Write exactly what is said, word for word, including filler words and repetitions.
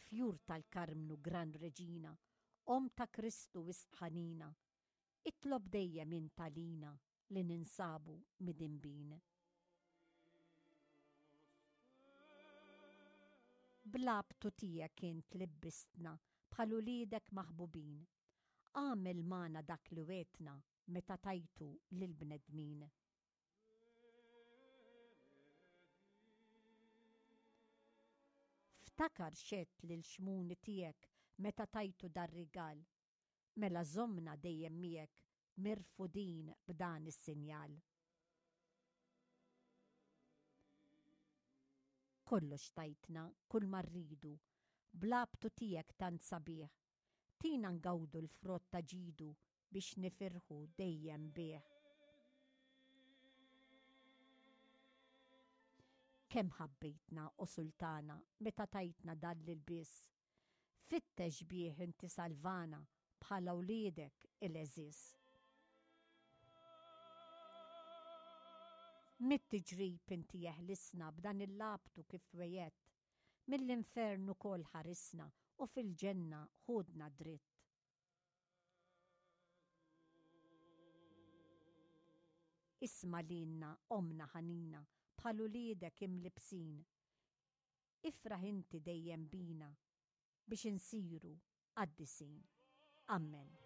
Fjur tal-Karmnu Gran Reġina, Omm ta' Kristu wisq ħanina, itlob dejjem int għalina li ninsabu midinbin. Bl-abtu tiegħek int libbistna bħal uliedek maħbubin. Agħmel magħna dak li wegħdtna meta tajtu lill-bnedmin. Ftakar x'għedt lil Xmuni tiegħek meta tajtu dar-rigal. Mela żommna dejjem miegħek mirfudin b'dan is-sinjal. Kollox tajtna, kull ma rridu, bl-abtu tiegħek tant sabiħ. Tina ngawdu l-frott ta' ġidu biex nifirħu dejjem bih. Kemm ħabbejtna, o Sultana, meta tajtna dan l-ilbies. Fittex bih inti salvana bħala wliedek il-għeżież. Mit-tiġrib inti eħlisna b'dan il-labtu kif wegħedt. Mill-infern ukoll ħarisna u fil-ġenna ħudna dritt. Isma' lilna, Ommna ħanina, bħal uliedek imlibbsin. Ifraħ inti dejjem bina biex insiru qaddisin. Ammen.